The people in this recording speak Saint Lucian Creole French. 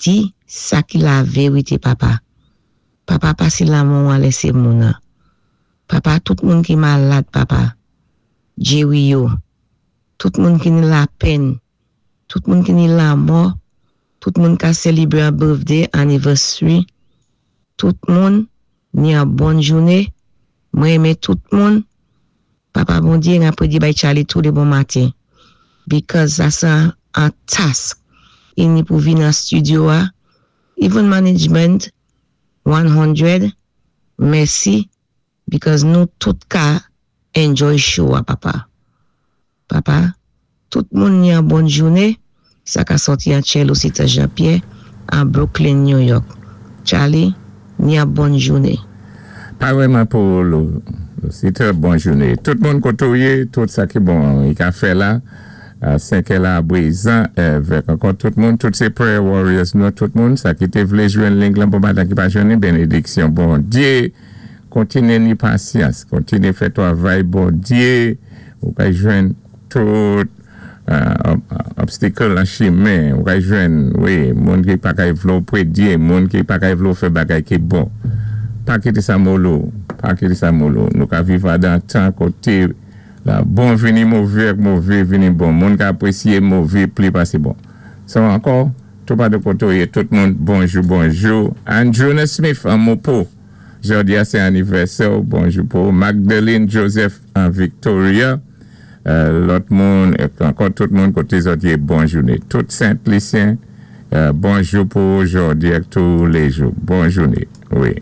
Di sa ki laverité, Papa. Papa, pasé lanmou an lèsé moun-an. Papa, tout moun ki malad, Papa. Jéri yo. Tout moun ki ni lapenn, tout moun ki ni lamò, tout moun ka sélébré an birthday, anniversary, tout moun ni an bon jouné. Mwen renmen tout moun. Papa Bondyé, n apwé di bay Charlie tou lé bon maten. Because sa sé an task i ni pou vin an studio a. Even management 100, mèsi because nou tout ka enjoy show a, Papa. Papa, tout moun ni an bon jouné, sa ka sòti an Tchè Jean-Pierre an Brooklyn, New York. Charlie, ni an bon jouné. Pa pou Lucita, bon jouné. Tout moun koté ou yé, tout sa ki bon, i ka fè la, a 5 la bwizan, avèk ankò tout moun, tout sé prayer warriors nou, tout moun, sa ki té vlé jwenn link lan pou maten ki pa jwenn, bénédiksyon Bondyé, kontiné ni pasyans, kontiné fè twavay Bondyé, ou ka jwenn tout obstacle an chimen, ou ka jwenn, wi, moun ki pa kay vlé ou pwédyé, moun ki pa kay vlé ou fè bagay ki bon. Pa kité sa moule ou, pa kité sa moule ou. Nou ka viv adan tan koté la bon vini mové ak mové vini bon. Moun ka apwésyé mové pli pasé bon. So ankò, tou pa de koté ou yé, tout moun, bonjou, bonjou. Andrew Smith an Mopo. Jòdi a sé anivèsè, bonjou pou Magdalene Joseph an Victoria. Lòt moun, ankò tout moun koté zòt yé, bon jouné. Tout Saint-Lucien, bonjou pou jòdi ak tou lé jou. Bon jouné, wi.